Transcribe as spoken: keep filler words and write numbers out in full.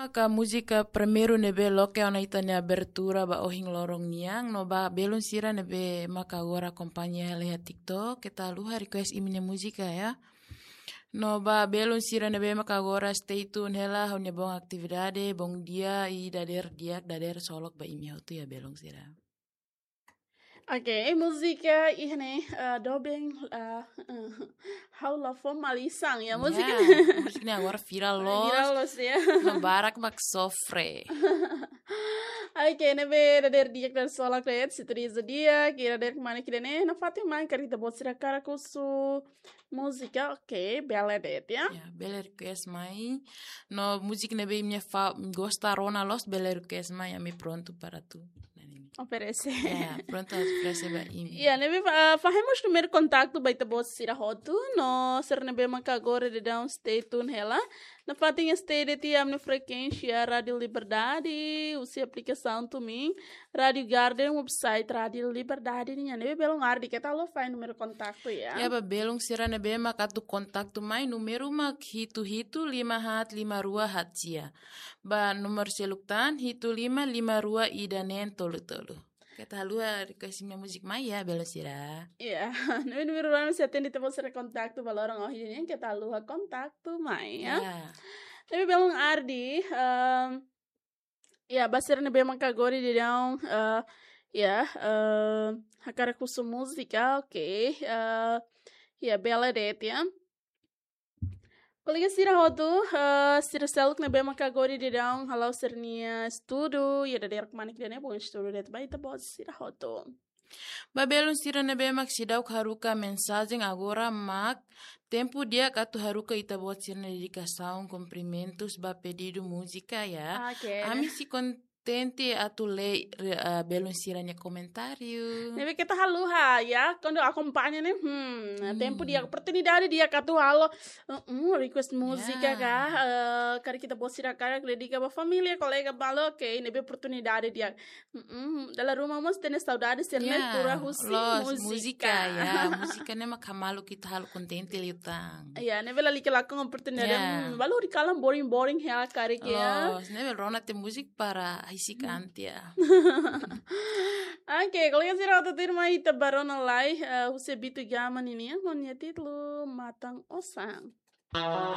Maka múzika primeiru ne'ebé loke ona ita-nia abertura ba ohin loron nian, no ba belun sira ne'ebé maka agora akompaña hela iha TikTok, keta haluha request imi-nia múzika ya. No ba belun sira ne'ebé maka agora stay tune hela, ha'u-nia boot atividade, bom dia, i dadeer di'ak, dadeer solok ba imi hotu ya belun sira. Oke, eh, múzika iha ne'e, eh, doben, eh, ha'u la fó malisan ya, múzika Ya, ne'e. Múzika ne'e agora viral loos. Viral loos ya. No barak mak sofre. Oke, ne'ebé dadeer di'ak, dadeer solok de'it, sintonia di'ak, i dadeer kmanek ida-ne'e, nafatin mai karik ita-boot sira hakarak husu múzika, oke, bele de'it ya. Ya, bele request mai. No múzika ne'ebé imi fa-, gosta rona loos, bele request mai, ami prontu para atu. Oferese. Ya, prontu atu oferese ba imi. Ya, ne'ebé fa-, fahe mós númeru kontaktu ba ita-boot sira hotu, no sira ne'ebé maka agora daudaun stay tune hela. Nafatin stay de'it iha ami-nia frekuénsia Rádiu Liberdade, husi aplikasaun TuneIn, Rádiu Garden, website Rádiu Liberdade nian. Ne'ebé belun Ardi, keta haluha fahe númeru kontaktu ya. Ya, ba belun sira ne'ebé maka atu kontaktu mai, númeru mak hitu hitu lima haat lima rua haat sia. Ba númeru seluk tan, hitu lima lima rua ida neen tolu tolu. Keta haluha request imi-nia múzika mai ya, belun sira. Ya, ne'ebé númeru rua mak sei atende ita-boot sira kontaktu ba loron ohin nian, keta haluha kontaktu mai ya. Ya. Ne'ebé belun Ardi, ehm, ya, ba sira ne'ebé maka agora daudaun, eh, ya, eh, hakarak husu múzika, oke, eh, ya, bele de'it ya. Kolega sira hotu, eh, sira seluk ne'ebé maka agora daudaun hala'o sira-nia estudu, ya dadeer kmanek ida-ne'e, bom estudu de'it ba ita-boot sira hotu. Ba belun sira ne'ebé mak seidauk haruka mensajen, agora mak tempu di'ak atu haruka ita-boot sira-nia dedikasaun, kumprimentus ba pedidu múzika ya. Oke. Ami sei kontente atu lee, re-, ah, belun sira-nia komentáriu. Ne'ebé keta haluha ya, kuandu akompaña ne'e, hmm, Hmm. tempu di'ak, oportunidade di'ak atu halo, uh, uh, request múzika Ya. ka, eh, karik ita-boot sira hakarak dedika ba família, kolega balu, oke, ne'ebé oportunidade di'ak. Mm-mm. Dala ruma mós hatene saudade sira-ne'e Ya, tuur husi loos, múzika. Múzika, ya. Múzika ne'e mak halo ita halo kontente liután. Ya, ne'ebé lalika lakon oportunidade. Ya. Hmm, balu horiseik kalan boring-boring hela karik ya. Loos, ne'ebé rona tiha múzika para hisi Hmm. kantia. Oke, kolega sira hotu, tuirmai ita bá rona lai, eh, husi Bitu Gama ninian, ho nia títulu Matan Osan.